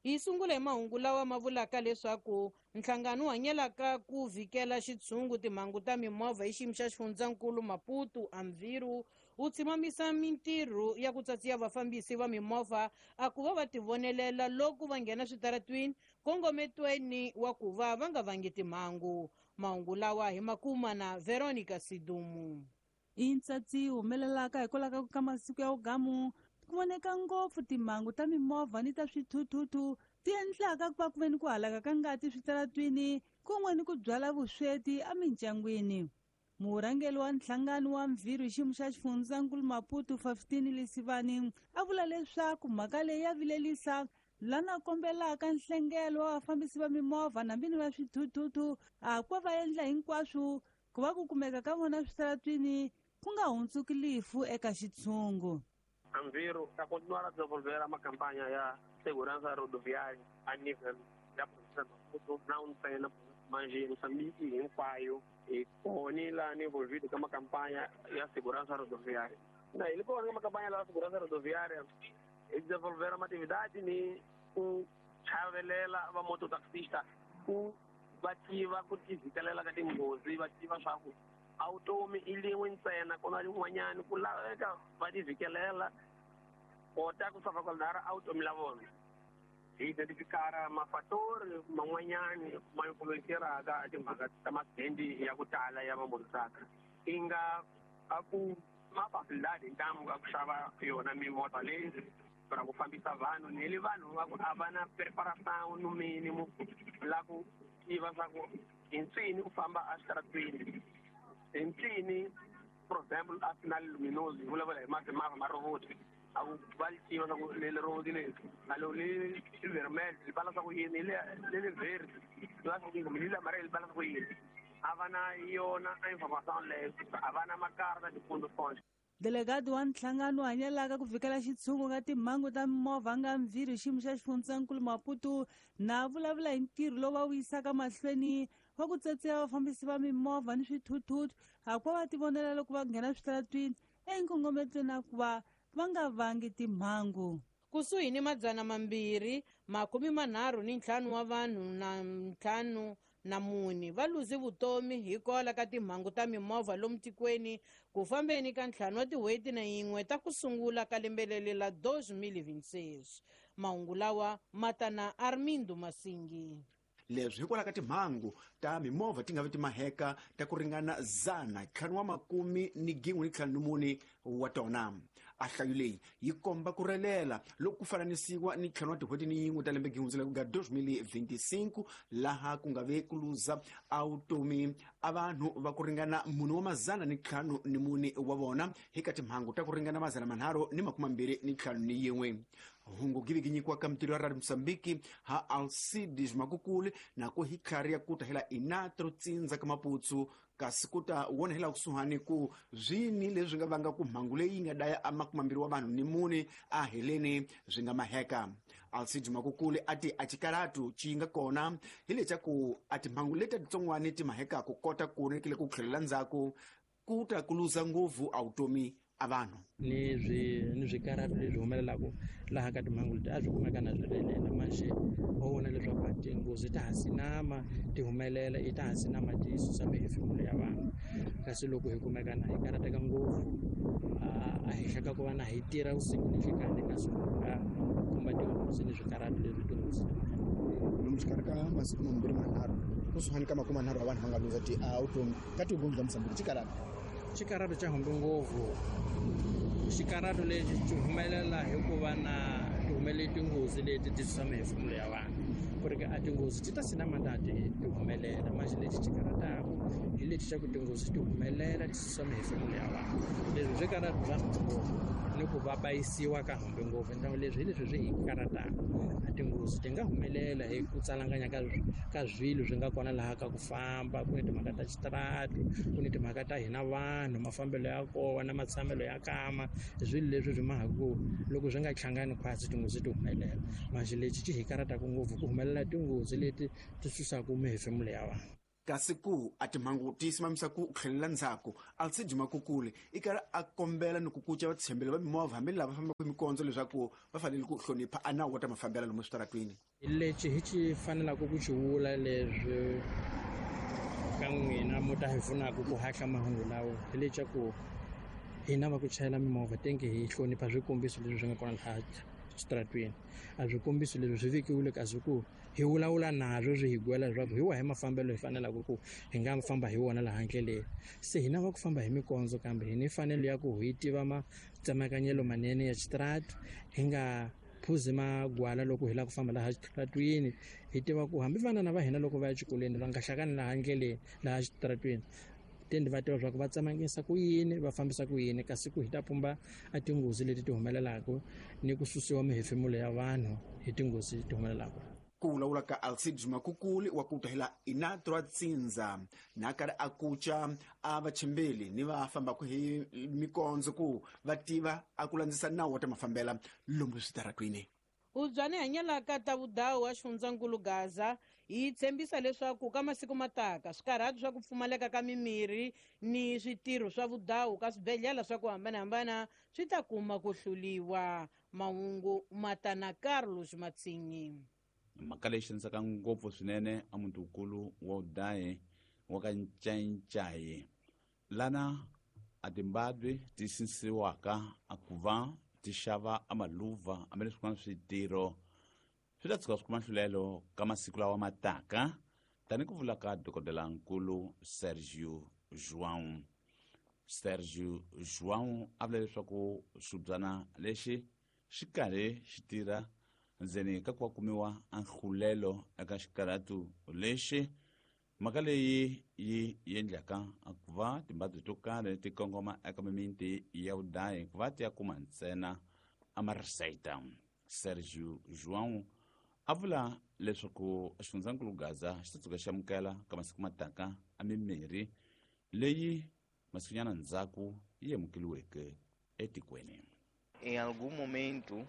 Hi sungula hi mahungu lawa ma vulaka leswaku nhlangano wu hanyelaka ku vhikela xitshungu timhangu ta mimovha hi xiyimo xa xifundzankulu Maputo Amviru wu tshimamisa mintirho ya ku tsatsiya vafambisi va mimovha a ku va va tivonelela loko va nghena switaratwini kongometweni wa ku va va nga vangi timhangu. Mahungu lawa hi makuma na Veronica Sidumu. I ntsatsi humelelaka hikwalaho ka masiku ya vugamu ku voneka ngopfu timhangu ta mimovha ni ta swithuthuthu ti endlaka ku va ku ve ni ku halaka ka ngati switaratwini kun'we ni ku byala vusweti emindyangwini. Murhangeri wa nhlangano wa Mvhirhu hi xiyimo xa xifundzankulu Maputo 15 Lesivani a vula leswaku mhaka leyi ya vilelisa lana kombelaka nhlengelo wa vafambisi va mimovha nambini va swithuthuthu a ku va endla hinkwaswo ku va ku kumeka ka vona switaratwini ku nga hundzuki lifu eka xitshungu. Amviro está continuar a desenvolver uma campanha ya segurança rodoviária a nível da província de Maputo, não tem na mas em Moçambique hinkwayo hi kona laha envolvido ka makampanha ya segurança rodoviária. Na ele kona ka makampanha ya segurança rodoviária e desenvolver uma atividade ni ku chavelela va mototaxista ku va tiva ku tivhikelela ka tinghozi, va tiva swa ku a vutomi i lin'we ntsena ku na lin'wanyani ku laveka va tivhikelela kota ku salvaguardar a vutomi la vona. Hi identifikara mafatori man'wanyani ma influenceraka timhaka ta masendi ya ku tala ya vamototraka i nga a ku mafacilidade hi ntamu a ku xava yona mimovha leyi ra ku fambisa vanhu ni le vanhu va ku a va na preparation no mínimo la ku tiva swa ku hi ncini u famba exitaratweni hi ncini, for example a final luminoso hi vulavula hi mavha ma robot a ku va li tiva swa ku leli robot leri a lo li vermel li bala swa ku yini leli verde li bala swa ku yini kumbe leli amarelo li bala swa ku yini. A va na yona information leyo, a va na makarta tifundo fonse. Delegado wa nhlangano hanyelaka ku vhikela xitshungu ka timhangu ta mimovha nga Mvhirhu xiyimo xa xifundzankulu Maputo na vulavula hi ntirho lowu va wu yisaka mahlweni wa ku tsetseya vafambisi va mimovha ni swithuthuthu a ku va va tivonela loko va nghena switaratwini enkongometweni na ku va va nga vangi timhangu. Kusuhi ni 235 wa vanhu na 54 va luze vutomi hikwalaho ka timhangu ta mimovha lomu tikweni ku fambeni ka 5 wa tin'hweti na yin'we ta ku sungula ka lembe leri la 2026. Mahungu lawa ma ta na Armindo Masingi. Leswi hikwalaho ka timhangu ta mimovha ti nga vi timaheka ta ku ringana 514 wa tona. A hlayo leyi yi komba ku relela loko ku fananisiwa ni 5 wa tin'hweti ni yin'we ta lembe gihundzela ku nga 2025 laha ku nga ve ku luza a vutomi a vanhu va ku ringana 454 wa vona hi ka timhangu ta ku ringana 321. Hungu giviginyikiwa ka mitirho ya Radio Mosambiki ha Alcides Makukuli na ku hi tlhari ya kuta hela inatro tsindza ka Maputsu kasi ku ta wona hela kusuhani ku swini leswi nga vanga ku mhangu leyi yi nga daya a 24 wa vanhu ni mune a heleni swi nga maheka. Alcides Makukuli a ti a xikaratu xi nga kona hi lexa ku a timhangu leti titsongwani ti maheka ku kota ku rekile ku tlhelela ndzhaku ku ta ku luza ngopfu a vutomi a vanhu. Ni swikaratu leswi humelelaka laha ka timhangu leti a swi kumeka na swi relela manjhe wa vona leswaku a tinghozi ta ha sinama ti humelela i ta ha sinama ti susa mihefemulo ya vanhu kasi loko hi kumeka na hi karateka ngopfu a henhla ka ku va na hi tirha vusiku ni nhlikani kasi nga khumba tinghozi ni swikaratu leswi tinghozi ti lomu xikarhi ka masiku mambirhi manharhu kusuhani ka 30 wa vanhu va nga luza ti-vutomi ka tinghozi ta Mozambique xikaratu. Xikaratu xa humbi ngopfu. Xikaratu lexi xi humelela hikuva na ti humelele tinghozi leti ti susa mihefemulo ya vanhu ku ri a tinghozi ti ta sina mandati ti humelela manjhe lexi xi karataku hi lexi xa ku tinghozi ti humelela ti susa mihefemulo ya vanhu leswi swi karatu swa humbi ngopfu ni ku va bayisiwa ka humbi ngopfu ndyangu leswi hi leswi swi hi karataku a tinghozi ti nga humelela hi ku tsalanganya ka swilo swi nga kona laha ka ku famba ku ni timhaka ta xitaratu ku ni timhaka ta hina vanhu mafambelo ya kona matshamelo ya kama swilo leswi swi mahaka ku loko swi nga hlangani khwatsi tinghozi ti humelela manjhe lexi xi hi karataku ngopfu ku humelela tinghozi leti ti susaka mihefemulo ya vanhu. Kasi ku a timhangu ti simamisa ku tlhelela ndzhaku, Alcide Makukule i karhi a kombela ni ku kuca vatshembeli va mimovha hambi lava fambaka hi mikondzo leswaku va fanele ku hlonipha a nawu wa ta mafambela lomu switaratwini. Lexi hi xi fanelaka ku xi vula leswi ka n'wina mo ta hi pfunaka ku hahla mahungu lawa hi leswaku hina va ku chayela mimovha tenge hi hlonipha swikombiso leswi swi nga kona laha xitaratwini. A swikombiso leswi swi vekiwile kasi ku hi vulavula nazwo swi hi gwela leswaku hi wahi mafambelo hi fanelaka ku hi nga famba hi wona laha ndleleni. Se hina va ku famba hi mikondzo kambe hi ni mfanelo ya ku hi tiva matsemakanyelo manene ya xitarati, hi nga phuzi magwala loko hi lava ku famba laha xitaratwini. Hi tiva ku hambi vanana va hina loko va ya exikolweni va nga hlakani laha ndleleni laha xitaratwini, tendi va tiva leswaku va tsemakanyisa ku yini, va fambisa ku yini, kasi ku hi ta pumba a tinghozi leti ti humelelaka ni ku susiwa mihefemulo ya vanhu hi tinghozi ti humelelaka. Ku vulavula ka Alcide Makukuli wa ku tahela Inatra Tsindza na karhi a kuca a vachimbeli ni va fambaka hi mikondzo ku va tiva a ku landzisa nawu wa ta mafambela lomu switaratwini. Ubyani hanyalaka ta vudawu wa xifundzankulu Gaza yi tshembisa leswaku ka masiku mataka swikarhati swa ku pfumaleka ka mimirhi ni switirho swa vudawu ka swibedhlele swa ku hambanahambana swi ta kuma ku hluliwa. Mahungu matana Carlos Matsinyi. Mhaka leyi xanisaka ngopfu swinene a mutikulu wa udayi wa ka Ncayicayi lana a timbabwe ti sinsiwaka a ku va ti xava a maluva hambileswi swin'wana switirho swi ta tshuka swi kuma nhlulelo ka masiku lawa ma taka, tani ku vula ka dokodelankulu Sergio João. Sergio João a vula leswaku xibyana lexi xi karhi xi tirha ndzeni ka ku va kumiwa a nhlulelo eka xikarhatu lexi. Mhaka leyi yi endlaka ku va timbabye to karhi ti kongoma eka mimiti ya vudayi ku va ti ya kuma ntsena a marisayita. Sergio João a vula leswaku xifundzankulu Gaza xi ta tshuka xi amukela ka masiku mataka a mimirhi leyi masikunyana ndzhaku yi amukeliweke etikweni. Em algum momento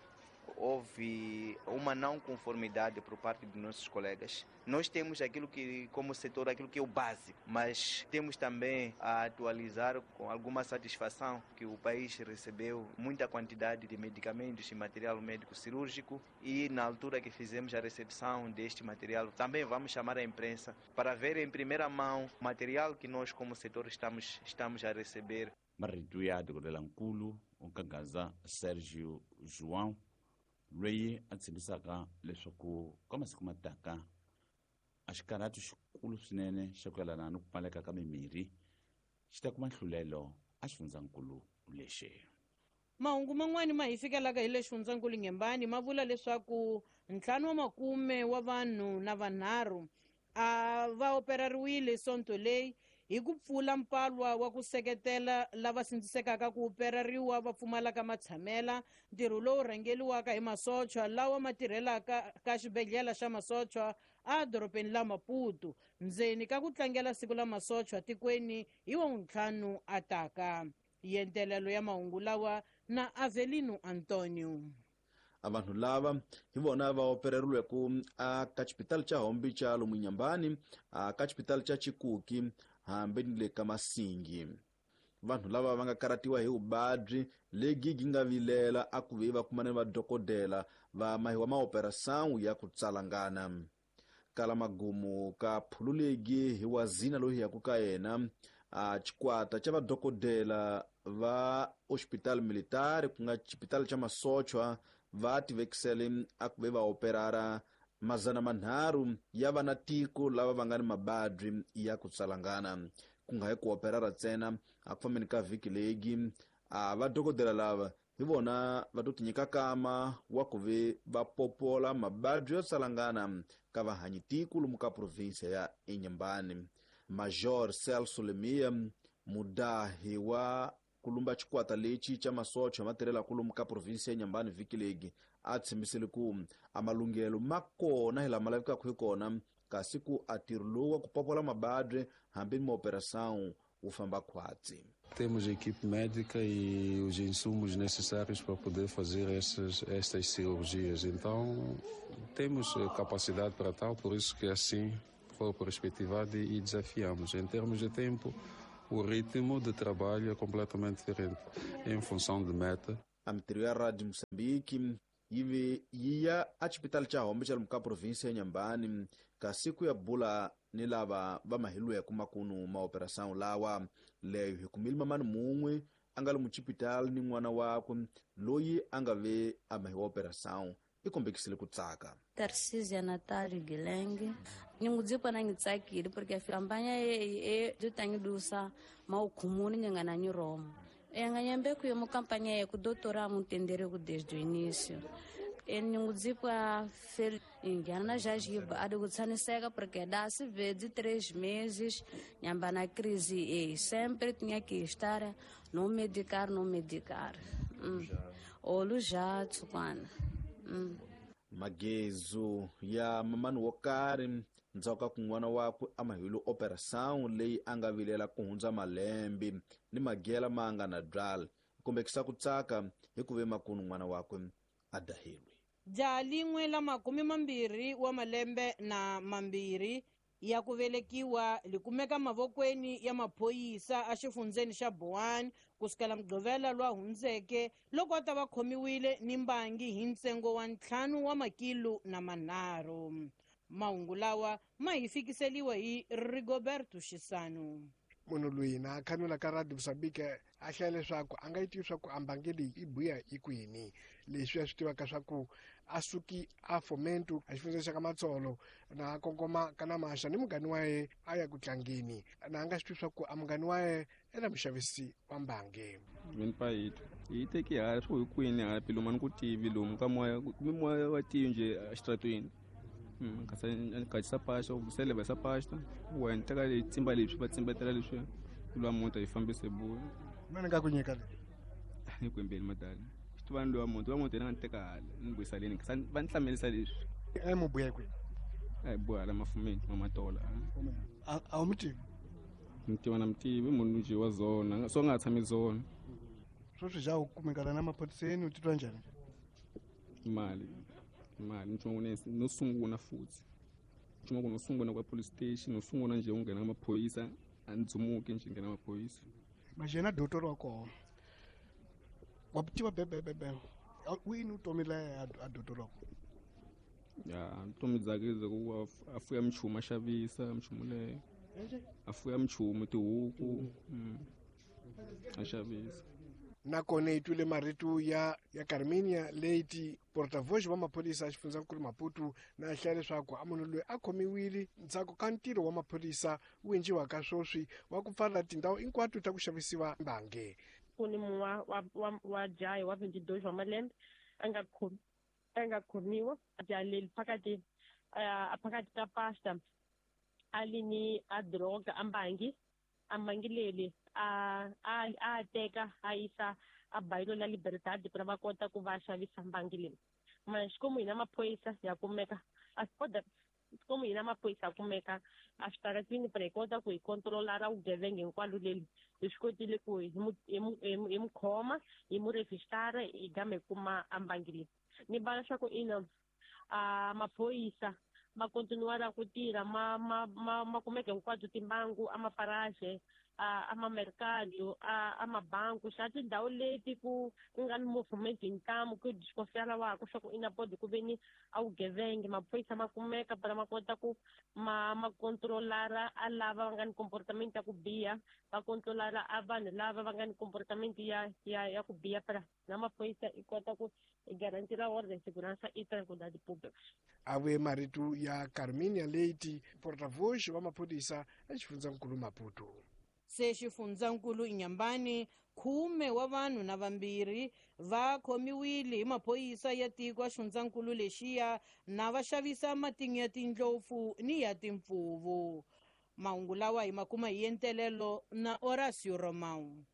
houve uma não conformidade por parte dos nossos colegas. Nós temos aquilo que, como setor, aquilo que é o básico, mas temos também a atualizar com alguma satisfação que o país recebeu muita quantidade de medicamentos e material médico cirúrgico e na altura que fizemos a recepção deste material, também vamos chamar a imprensa para ver em primeira mão o material que nós como setor estamos a receber. Marito ya dokodelankulu wa Gaza Sergio João loyi a tshembisaka leswaku ka masiku mataka a xikarhati xikulu swinene xa ku yelana ni ku pfumaleka ka mimirhi xi ta kuma nhlulelo a xifundzankulu lexi. Mahungu man'wani ma hi fikelaka hi le xifundzankulu Ngembani ma vula leswaku 5 wa makume wa vanhu na vanharhu a va operariwile sonto leyi hi ku pfula mpalwa wa ku seketela lava sindzisekaka ku operariwa va pfumalaka matshamela, ntirho lowu rhangeliwaka hi masochwa lawa ma tirhelaka ka xibedhlele xa masochwa a dorobeni la Maputo ndzeni ka ku tlangela siku la masochwa tikweni hi wa 5 ataka. Yentelelo ya mahungu lawa na Avelino Antonio. A vanhu lava hi vona va opereriweke a ka xipitali xa Hombi xa lomu Nyambani, a ka xipitali xa Chikuki hambi ni le ka Masingi. Vanhu lava va nga karatiwa hi vuvabyi lebyi byi nga vilela a ku ve va kumana ni vadokodela va mahiwa maoperasawu ya ku tsalangana. Kala magumu ka phululegi hi wazina loyi yaku ka yena a xikwata xa vadokodela va hospital military ku nga xipitali xa masochwa va tivekisele a ku ve va operara 300 ya vana tiko lava va nga ni mabadyi ya ku tsalangana. Ku nga hi ku operara ntsena a ku fambeni ka vhiki legi a vadokodela lava hi vona va to tinyika kama wa ku ve va popola mabadyi yo tsalangana ka vahanyi tiko lomu ka provinsia ya Inhambane. Major Celso Lemia, mudahi wa kulumba xikwata lexi xa masocha ma tirhela lomu ka provinsia ya Inhambane vhiki legi a tshembisile ku a malunghelo ma kona hi lama lavekaka hi kona, kasi ku a ntirho lowu wa ku popola mabadyi hambi ni maoperação wu famba khwatsi. Temos a equipe médica e os insumos necessários para poder fazer estas cirurgias. Então, temos capacidade para tal, por isso que assim corpo respetivado e desafiamos. Em termos de tempo, o ritmo de trabalho é completamente diferente, em função de meta. A mintirho ya Radio Moçambique yi ve yi ya exipitali xa Hombe xa lomu ka provinsi ya Inhambane kasi ku ya bula ni lava va mahilweke makunu maoperação lawa leyo hi kumile mamani mun'we a nga lomu xipitali ni n'wana wakwe loyi a nga ve a mahiwa operação i kombekisile ku tsaka. Tarcísia Natália Guilherme ningudzikwa na ngitsakile porque a campanha e dutangidusa maukhumuni nyangana nyiromo enganyambe kuyo mu campanha ye ku doutora mutendere ku desde o início ningudzikwa fel ingiana já jiba adikutsaniseka porque dá se vê de 3 meses nhamba na crise e sempre tinha que estar no medicar olu já tsukwana. Magezu ya mamani wo karhi ndzhaku ka ku n'wana wakwe a mahile operação leyi a nga vilela ku hundza malembe ni magela ma nga na byala kombekisa ku tsaka hi ku ve makunu n'wana wakwe a dahilwe. Jaha lin'we la 22 wa malembe na 2 ya ku velekiwa li kumeka mavokweni ya maphorisa exifundzeni xa Boane kusukela Mugqivela lwa hundzeke loko a ta va khomiwile ni mbangi hi ntsengo wa 5 wa makilo na 3. Mahungu lawa ma hi fikiseliwa hi Rigoberto Xisano. Munhu loyi na a khanula ka Radio Moçambique a hlaya leswaku a nga yi tivi swa ku a mbangi leyi i buya i kwini leswi a swi tivaka swa ku a suki a Fomento a xifundzeni xa ka Matsolo na a kongoma ka Namaxa ni mungani wa ye a ya ku tlangeni na a nga swi tivi swa ku a mungani wa ye ela muxavisi wa mbangi. Mina payito yi teki hala swo hi kwini hala pilomu a ni ku tivi lomu ka moya kumbe moya wa tivi nje exitratweni. Kasi pasta useleva sa pasta wena teka tsimba leswi va tsimbetela leswi lwa muti yi fambise buya mina nga ku nyika le ni kwembeni madala xitivani lwa muti wa muti yena nga ni teka hala ni vuyisa leni va ni hlamelisa leswi a mu buya kwihi a hi buya hala mafumeni mamatola a wu mi tivi mi tiva na mi tivi munhu nje wa zona so nga tshami zona sweswi ja u kumekana na maphoriseni u titwa njhani mali nchumu no sungula futhi nchumu no sungula kwa police station no sungula nje ungena amaphoyisa andzumuke nje ngena amaphoyisa manje na doctor wa kona wa tiva bebebebe wini utomi la a doctor wa kona ya utomi dzake ku afuya mchumu a xavisa mchumu leyo afuya mchumu tihuku a xavisa. Nakona yi twile marito ya Carminia Leite portavoz wa maphorisa a xifundzankulu Maputo na hlaya leswaku a munhu loyi a khomiwile ndzhaku ka ntirho wa maphorisa wu endliwaka sweswi wa ku pfala tindhawu hinkwato ta ku xavisiwa mbangi. Ku ni mun'we wa jaha wa 22 wa malembe a nga khomiwa jaha leri phakathi ka pasta a li ni a droga a mbangi leri a teka a yisa a bayilo la Libertad para va kota ku va xavisa mbangi leyi manje komu hina maphorisa ya kumeka a komu hina maphorisa ya kumeka a switaratini para hi kota ku hi controlara vugevenga hinkwalo leli hi swi kotile ku hi mu khoma hi mu rejistara hi gama hi kuma a mbangi leyi ni vala swa ku ina a maphorisa ma continuara ku tirha ma kumeka hinkwato timbangu a maparaje a mamercado a mabanku xa tindhawu leti ku nga ni movement hi ntamu ku desconfiara waku swa ku ina bodi ku ve ni a vugevenga maphorisa ma kumeka para ma kota ku ma controlara a lava va nga ni comportament ya ku biha va controlara a vanhu lava va nga ni comportament ya ku biha para na maphorisa i kota ku garantira ordem segurança e tranquilidade pública. A vuye marito ya Carminia Leite portavoz wa maphorisa exifundzankulu Maputo. Se xifundzankulu Inhambane 10 wa vanhu na 2 va khomiwile hi maphorisa ya tiko xifundzankulu lexiya na va xavisa matinyo ya tindlopfu ni ya timpfuvu. Mahungu lawa hi makuma hi entelelo na Horacio Romão.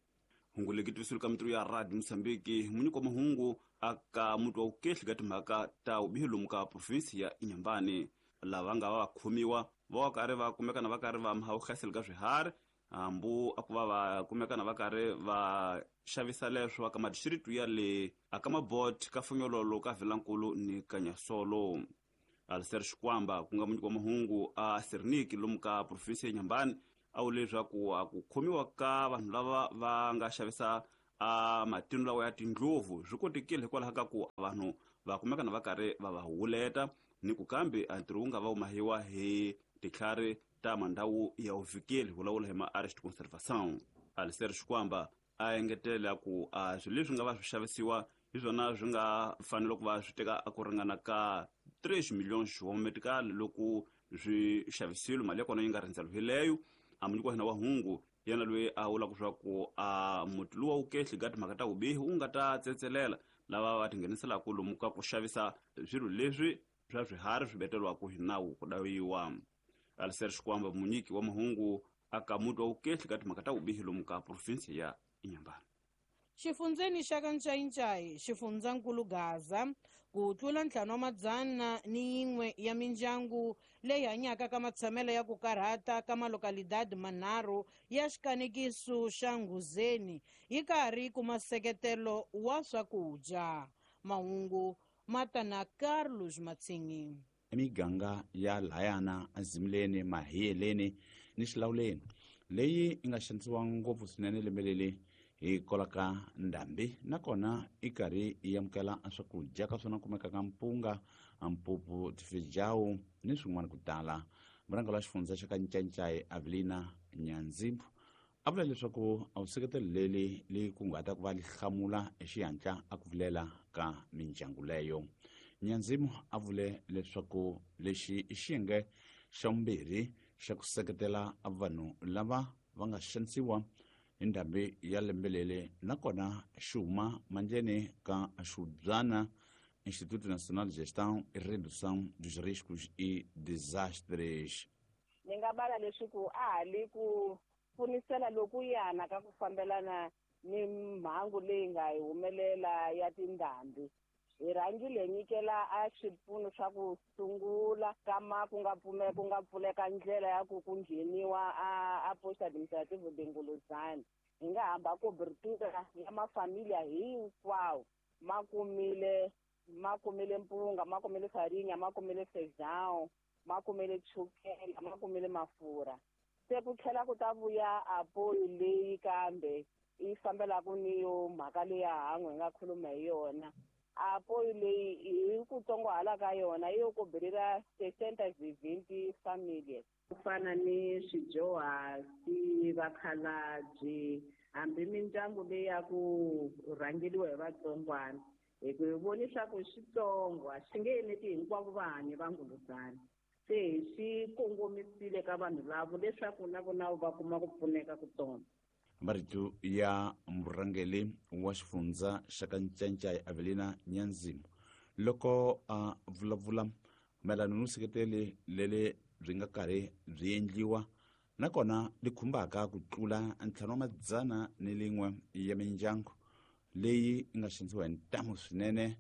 Hungu leki twisulu ka mitirho ya Radio Moçambique munyiko mahungu aka mutu wa ukehli ka timhaka ta vubihi lomu ka provinsi ya Inhambane lava nga va khomiwa va karhi va kumekana va karhi va mahawuhlaseli ka swiharhi hambu a ku va kumekana va karhi va xavisa leswo aka madistritu ya le aka mabot ka Funyololo ka Vilankulu ni Kanyasolo. Alistair Xikwamba ku nga munyiki wa mahungu a Serniki lomu ka province ya Inhambane a vule leswaku a ku khomiwa ka vanhu lava va nga xavisa a matino lawa ya tindlopfu swi kotekile hikwalaho ka ku vanhu va kumeka na va karhi va va huleta ni ku kambe a ntirho wu nga va wu mahiwa hi titlhari ta mandhawu ya vuvikeli vulavula hi ma-arrest conservation. Alistair Xikwamba a engetela ku a swilo leswi nga va swi xavisiwa hi swona swi nga fanele ku va swi teka a ku ringana ka 3 milhões wa metical loko swi xavisiwile, mali ya kona yi nga rhendzeriwileyo. A munyiki wa hina wa hungu yena loyi a vulaka leswaku a muti luwa wu kehli ka timhaka ta vubihi wu nga ta tsetselela lava va tingheniselaka lomu ka ku xavisa swilo leswi swa swiharhi swi beteriwaka hi nawu ku dawiwa. Alistair Xikwamba munyiki wa mahungu aka muti wa vukehli ka timhaka ta vubihi lomu ka province ya Inhambane. Xifundzeni xa ka Ncayincayi, xifundzankulu Gaza, ku tlula 501 ya mindyangu leyi hanyaka ka matshamelo ya ku karhata ka malokalidadi manharhu ya xikanekiso xa Nghuzeni yi karhi kuma nseketelo wa swakudya. Mahungu ma ta na Carlos Matsingi. Emiganga ya layana Azimleni, Mahiyeleni ni Xilawuleni leyi yi nga xanisiwa ngopfu swinene lembe leri hi kolaka ndhambi, nakona i karhi yi amukela swakudya ka swona kumekaka mpunga, mpupu, tifejawu ni swin'wana ku tala. Murhangeri wa xifundza xa ka Ncancai Avelina Nyanzimbu a vula leswaku a vuseketelo leri li kunguhata ku va li hlamula hi xihatla a ku vilela ka mindyangu leyo. Nyanzimu a vule leswaku lexi i xiyenge xa vumbirhi xa ku seketela vanhu lava va nga xanisiwa hi ndhambi ya lembe leri, nakona xi huma mandleni ka Xubyana Instituto Nacional de Gestão e Redução dos Riscos e Desastres. Ni nga bala leswaku a ha li ku pfunisela lokuyana ka ku fambelana ni mhangu leyi nga hi humelela ya tindhambi. Hi rhangile hi nyikela a swipfuno swa ku sungula kama ku nga pfume ku nga pfuleka ndlela ya ku ku ngheniwa a poste administrative de Nguluzana. Hi nga hamba cobertura ya mafamilia hinkwawo ma kumile mpunga, ma kumile farinya, ma kumile feijão, ma kumile chukela, ma kumile mafurha. Se ku tlhela ku ta vuya apoyo leyi kambe yi fambelaka ni yo mhaka leya han'we hi nga khuluma hi yona. Apoyo leyi hi ku tsongohala ka yona yo kobelela 620 famílias. Ku fana ni swidyuhari, vakhalabye, hambi mindyangu leyi ya ku rhangeriwa hi vatsongwana. Hi ku hi voni swa ku xitsongo a xi nge eneti hinkwavo vahanyi va Nguluzana. Se hi swi kongomisile ka vanhu lavo leswaku na vona va kuma ku pfuneka ku tona. Marito ya murhangeri wa xifundza xa ka Ncancai Avelina Nyanzimu loko a vulavula mayelana no seketeli leri byi nga karhi byi endliwa nakona li khumbaka ku tlula 501 ya mindyangu leyi yi nga xanisiwa hi ntamu swinene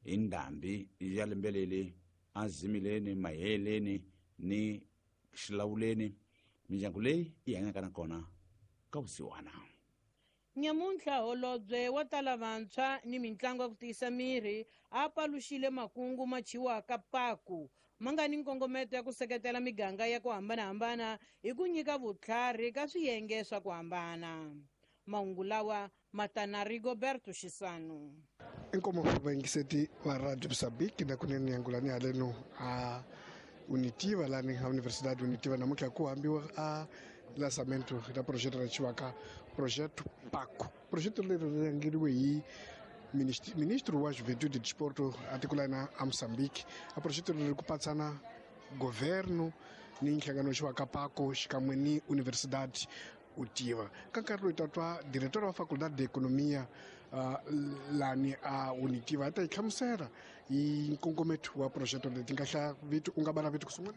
hi ndhambi ya lembe leri Azimileni, Maheleni ni Xilawuleni. Mindyangu leyi yi hanyaka nakona ka vusiwana. Nyamuntlha holobye wa tala vantshwa ni mitlangu ya ku tiyisa miri a paluxile makungu ma chiwaka paku ma nga ni nkongometo ya ku seketela miganga ya ku hambanahambana hi ku nyika vutlhari ka swiyenge swa ku hambana. Mahungu lawa ma ta na Rigoberto Xisano. Inkomo vayingiseti va Radio Mozambique na kunene yangulani haleno a Unitiva lani a Universidade Unitiva namuntlha ku hambiwa a lançamento da projeto ra chiwaka projeto PACO. Projeto leri ri rhangeriwe hi ministro wa Juventude e Desporto a tiko la hina a Mozambique. A projeto leri ku patsana governo ni nhlangano wa PACO xikan'we ni Universidade Utiva. Ka nkarhi loyi ta twa diretor wa Faculdade de Economia lani a Unitiva a ta yi hlamusela hi nkongometo wa projeto leti nga hlaya vito u nga bala vito ku sungula.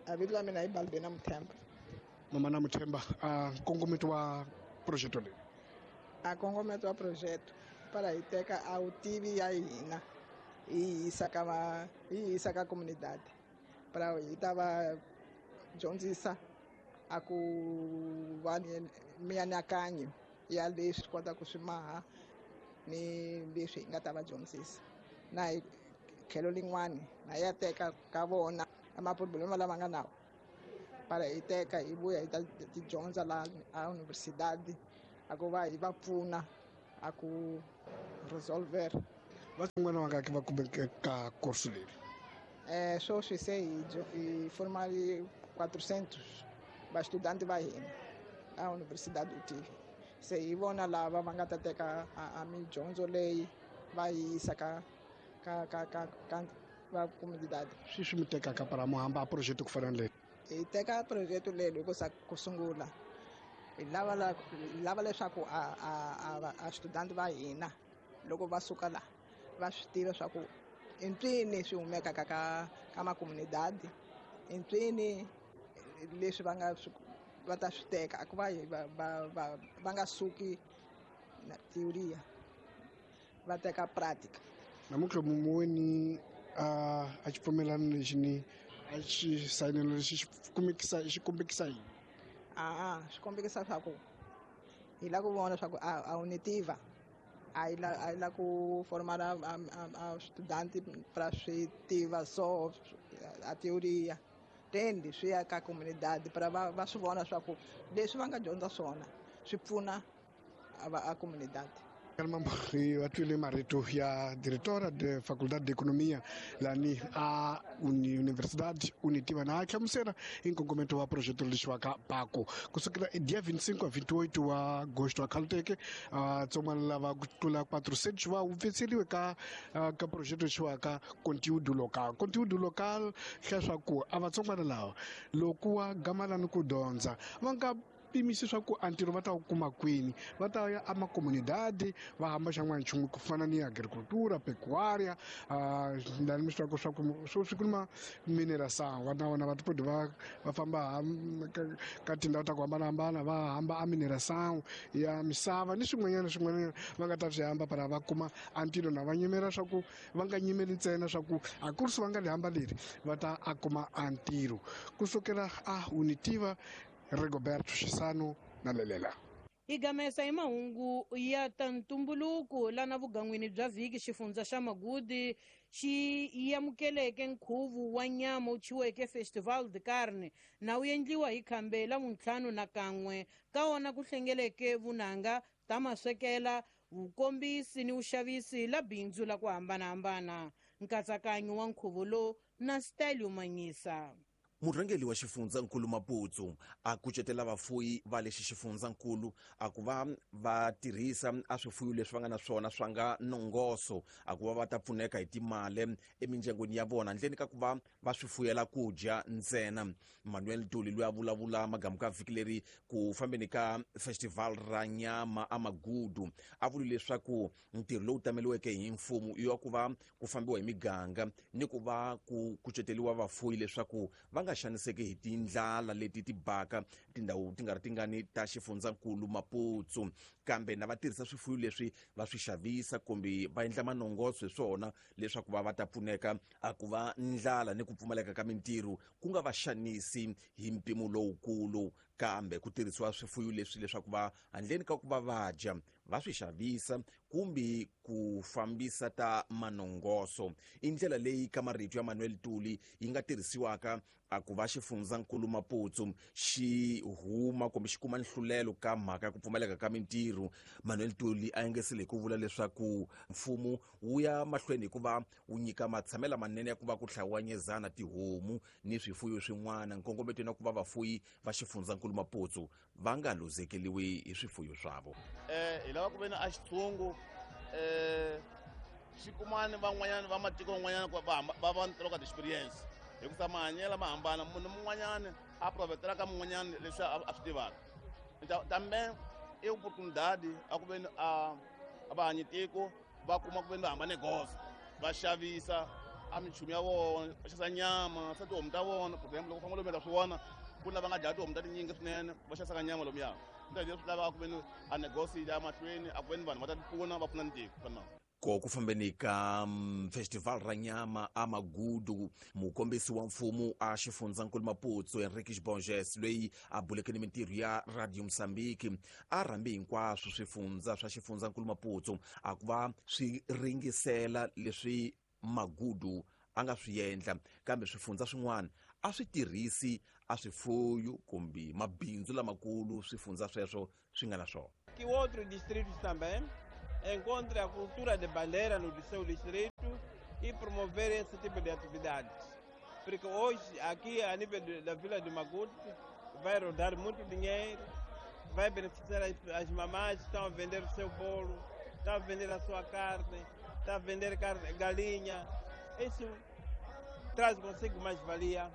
A vito la mina i Balbena Muthemba. Mama na Muthemba, a nkongometo wa projeto leyi. A nkongometo wa projeto para hi teka a vutivi ya hina hi yisa ka va hi yisa ka comunidade para hi ta va dyondzisa a ku va ni mianakanyo ya leswi kota ku swi maha ni leswi hi nga ta va dyondzisa na hi tlhelo lin'wani na ya teka ka vona maproblema lama nga nawo para hi teka hi vuya hi ta tidyondza la a universidade a ku va hi va pfuna a ku resolver. Vatsongwana vangaki va kumeke ka kursu leri? Sweswi se hi formali 400 vastudanti va hina a universidade UTIVA. Se hi vona lava va nga ta teka a midyondzo leyi va yi yisa ka ka ka ka ka va comunidade. Swi mi tekaka para mo hamba a project ku fana na leyi? Hi teka project leyi loko sa ku sungula hi lava leswaku a student va hina loko va suka la va swi tiva swa ku i mpfini swi humekaka ka makomunidadi, i mpfini leswi va nga va ta swi teka a ku va va nga suki na teoria va teka pratica. Namuntlha muweni a xipfumelano lexi ni a xi sayinelo lexi xi kombekisa yini? Swi kombekisa swa ku hi lava ku vona swa ku a wu ni tiva a yi la ku formala a student para swi tiva so a teoria tendi swi ya ka comunidade para va swi vona swa ku leswi va nga dyondza swona swi pfuna a comunidade. Va twile marito ya diretora de Faculdade de Economia lani a Universidade Unitiva na a hlamusela hi nkongometo wa projeto lexiwaka PACO kusukela dia 25 a 28 wa agosto a khaluteke vatsongwana lava ku tlula 400 va hupfetseriwe ka projeto lexiwaka conteúdo local. Conteúdo local leswaku a vatsongwana lava loko wa gamalani ku dyondza va nga pimisi swa ku antirho va ta wu kuma kwini, va ta ya amakomunidade va hamba xan'wana nchumu ku fana ni agricultura, pecuária, lani mi swi tivaka swa ku swi kuma mineração va na vona va tipodi va famba ka tindhawu ta ku hambanahambana va hamba a mineração ya misava ni swin'wanyana swin'wanyana va nga ta swi hamba para va kuma antirho na va nyimela swa ku va nga nyimeli ntsena swa ku a kursi va nga li hamba leri va ta a kuma antirho kusukela a Unitiva. Rigoberto Xisano na Lelela. Hi gamesa hi mahungu ya ta ntumbuluko lana vugan'wini bya vhiki xifundza xa Magudi xi amukeleke nkhuvo wa nyama wu thyiweke Festival de Carne na wu endliwa hi khambe la vuntlhanu na kan'we ka wona ku hlengeleke vunanga ta maswekela vukombisi ni vuxavisi la bindzu la ku hambanahambana. Nkatsakanyo wa nkhuvo lowu na Stelio Manyisa. Murhangeri wa xifundzankulu Maputsu a kucetela vafuyi va lexi xifundzankulu a ku va va tirhisa a swifuyo leswi va nga na swona swa nga nongoso a ku va va ta pfuneka hi timali emindyangwini ya vona handleni ka ku va va swi fuyela ku dya ntsena. Manuel Duli loyi a vulavula magamu ka vhiki leri ku fambeni ka festival ra nyama a Magudu a vule leswaku ntirho lowu tameliweke hi mfumo i wa ku va ku fambiwa hi miganga ni ku va ku kuceteriwa vafuyi leswaku va nga xaniseki hi tindlala leti ti baka tindhawu ti nga ri tingani ta xifundzankulu Maputsu, kambe na va tirhisa swifuyo leswi va swi xavisa kumbe va endla manongoso hi swona leswaku va ta pfuneka a ku va ndlala ni ku pfumaleka ka mintirho ku nga va xanisi hi mpimo lowukulu, kambe ku tirhisiwa swifuyo leswi leswaku va handleni ka ku va va dya va swi xavisa kumbe ku fambisa ta manongoso. I ndlela leyi ka marito ya Manuel Tuli yi nga tirhisiwaka a ku va xifundzankulu Maputsu xi huma kumbe xi kuma nhlulelo ka mhaka ya ku pfumaleka ka mintirho. Manuel Tuli a engesile hi ku vula leswaku mfumo wu ya mahlweni hi ku va wu nyika matshamela manene ya ku va ku hlawanyezana tihomu ni swifuyo swin'wana nkongometo na ku va vafuyi va xifundzankulu Maputsu va nga luzekeliwi hi swifuyo swavo. Hi lava ku ve ni a xitshungu xi kumani van'wanyana va matiko van'wanyana ku va va ni ka experience hikusa mahanyelo ma hambana, munhu mun'wanyana a provetela ka mun'wanyana leswi a swi tivaka. Tambe i opportunidade a ku ve ni a va hanyi tiko va kuma ku ve ni va hamba negoza va xavisa a minchumu ya vona, va xavisa nyama swa tihomu ta vona. For example, loko famba lomu ta swi vona ku na va nga dlaya tihomu ta tinyingi swinene va xavisaka nyama lomuya. Leswi lavaka ku ve ni a negosi ya mahlweni a ku ve ni vanhu va ta tipfuna va pfuna ni tiko fana. Ko ku fambeni ka festival ra nyama a Magudu, mukombisi wa mfumo a xifundzankulu Maputsu Henriques Borges loyi a buleke ni mintirho ya Radio Mozambique a rhambi hinkwaswo swifundza swa xifundzankulu Maputsu a ku va swi ringisela leswi Magudu a nga swi endla, kambe swifundza swin'wana a swi tirhisi a swifuyo kumbe mabindzu lamakulu swifundza sweswo swi nga na swona. Que outros distritos também encontrem a cultura de bandeira no seu distrito e promover esse tipo de atividades. Porque hoje, aqui a nível da Vila de Magude, vai rodar muito dinheiro, vai beneficiar as mamás que estão a vender o seu bolo, estão a vender a sua carne, estão a vender carne, galinha. Isso traz consigo mais-valia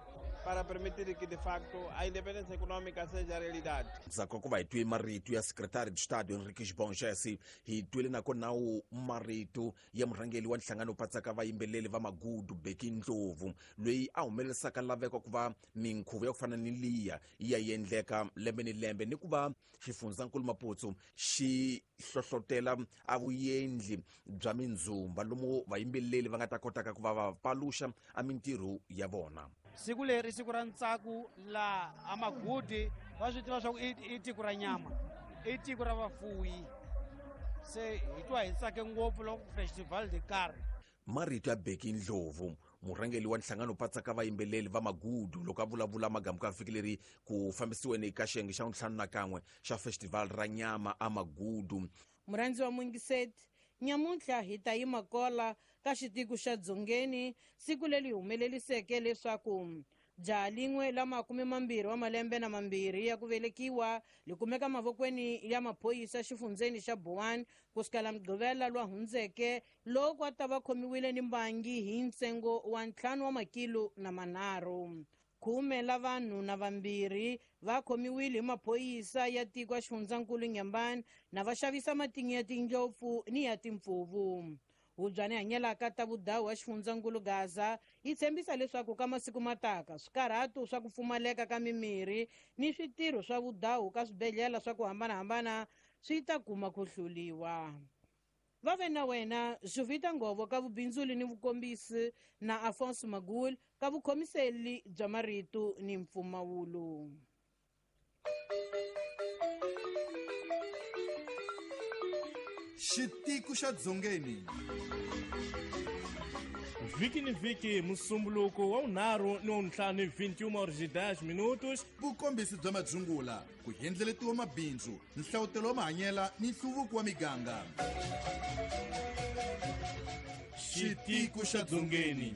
para permitir que, de facto, a independência econômica seja a realidade. Ndzhaku ka ku va hi twe marito ya Secretary de Estado Henriques Bongese, hi twile nakona wu marito ya murhangeri wa nhlangano patsaka vayimbeleri va Magudu Bheki Ndlovu, loyi a humelerisaka laveko ku va minkhuvo ya ku fana ni liya yi ya endleka lembe ni lembe, ni ku va xifundzankulu Maputo xi hlohlotela a vuendli bya mindzumba lomu vayimbeleri va nga ta kotaka ku va va paluxa a mintirho ya vona. Siku leri siku ra ntsako la aMagudi va swi tiva swa ku i tiko ra nyama, i tiko ra vafuwi, se hi twa hi tsake ngopfu loko festival de karhi. Marito ya Bheki Ndlovu, murhangeri wa nhlangano patsaka vayimbeleri va Magudu, loko a vulavula magamu ka vhiki leri ku fambisiweni ka xiyenge xa 51 xa festival ra nyama aMagudu. Murhandzi wa Mungiseti, nyamuntlha hi ta yima kola ka xitiko xa Dzongeni, siku leri humeleliseke leswaku jaha lin'we la 22 wa malembe na mambirhi ya ku velekiwa li kumeka mavokweni ya maphorisa xifundzeni xa Boane kusukela Mugqivela lwa hundzeke, loko a ta va khomiwile ni mbangi hi ntsengo wa 5 wa makilo na manharhu. 10 la vanhu na vambirhi va khomiwile hi maphorisa ya tiko ya xifundzankulu Nyambani na va xavisa matinyo ya tindlopfu ni ya timpfuvu. Hubyani hanyelaka ta vudawu wa xifundzankulu Gaza yi tshembisa leswaku ka masiku mataka swikarhato swa ku pfumaleka ka mimirhi ni switirho swa vudawu ka swibedhlele swa ku hambanahambana swi ta kuma ku hluliwa. Va ve na wena Juvita Ngovo ka vubindzuli ni vukombisi na Afonso Magul ka vukhomiseli bya marito ni mpfumawulo. Xitiko xa Dzongeni. Vhiki ni vhiki musumbuluko wa 5 ni wa 5 21h10. Vukombisi bya madzungula, ku endleletiwa mabindzu, nhlawutelo wa mahanyela ni nhluvuko wa miganga. Xitiko xa Dzongeni.